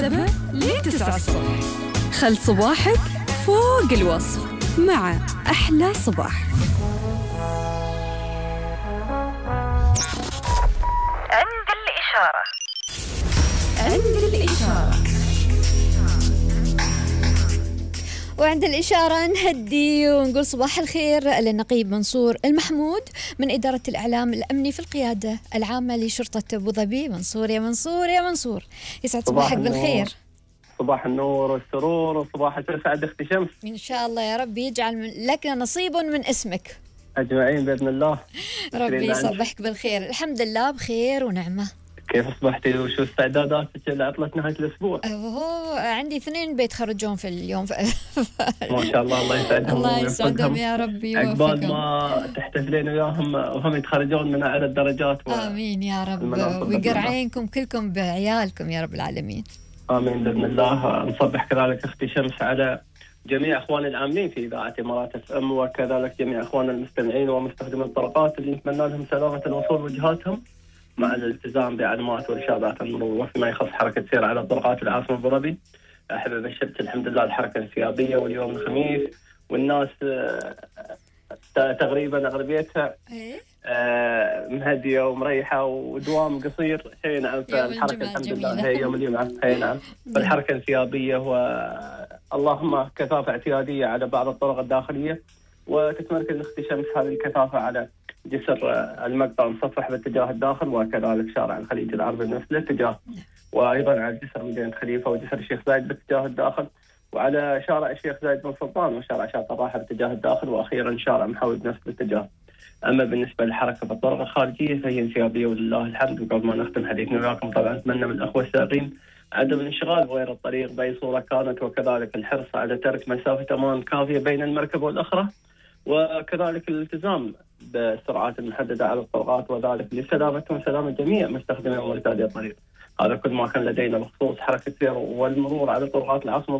7 ل9 الصبح. خل صباحك فوق الوصف مع أحلى صباح. عند الإشارة. وعند الإشارة نهدي ونقول صباح الخير للنقيب منصور المحمود من إدارة الإعلام الأمني في القيادة العامة لشرطة أبو ظبي. منصور يا منصور يا منصور، يسعد صباحك بالخير. صباح النور والسرور وصباح السعادة أختي شمس. إن شاء الله يا رب يجعل لك نصيب من اسمك أجمعين بإذن الله. ربي يصبحك بالخير. الحمد لله بخير ونعمة. كيف أصبحتي وشو استعداداتك لعطلة نهاية الأسبوع؟ عندي 2 بيتخرجون في اليوم ما شاء الله، الله يسعدهم. الله يسعدهم يا ربي ويوفقهم. عقبال يوفقهم. ما تحتفلين وياهم وهم يتخرجون من أعلى الدرجات آمين يا رب، ويقر عينكم كلكم بعيالكم يا رب العالمين. آمين بإذن الله. نصبح كذلك أختي شمس على جميع أخواني العاملين في إذاعة إمارات FM، وكذلك جميع أخواننا المستمعين ومستخدمين الطرقات اللي نتمنى لهم سلامة الوصول وجهاتهم مع الالتزام بعلامات وإرشادات المرور. وفيما يخص حركة سير على طرقات العاصمة أبو ظبي، أحب أبشرك الحمد لله الحركة انسيابية، واليوم الخميس والناس تقريبا أغلبيتها مهدية ومريحة ودوام قصير. هي نعم، فالحركة الحمد لله هي يوم الجمعة. هي نعم، فالحركة انسيابية اللهم كثافة اعتيادية على بعض الطرق الداخلية، وتتمركز اختي شمس هذه الكثافة على جسر المقطع مصفح باتجاه الداخل، وكذلك شارع الخليج العربي بنفس الاتجاه، وأيضا على جسر مدينة خليفة وجسر الشيخ زايد باتجاه الداخل، وعلى شارع الشيخ زايد بن سلطان وشارع شاطئ الراحة باتجاه الداخل، وأخيرا شارع محاوي بنفس الاتجاه. أما بالنسبة للحركة في الطرق الخارجية فهي انسيابية ولله الحمد. وقبل ما نختم حديثنا وياكم طبعا أتمنى من الأخوة السائقين عدم الانشغال بغير الطريق بأي صورة كانت، وكذلك الحرص على ترك مسافة أمان كافية بين المركبة والأخرى، وكذلك الالتزام بالسرعات المحددة على الطرقات، وذلك لسلامتهم وسلامة جميع مستخدمي ومرتادي الطريق. هذا كل ما كان لدينا بخصوص حركة السير والمرور على طرقات العاصمة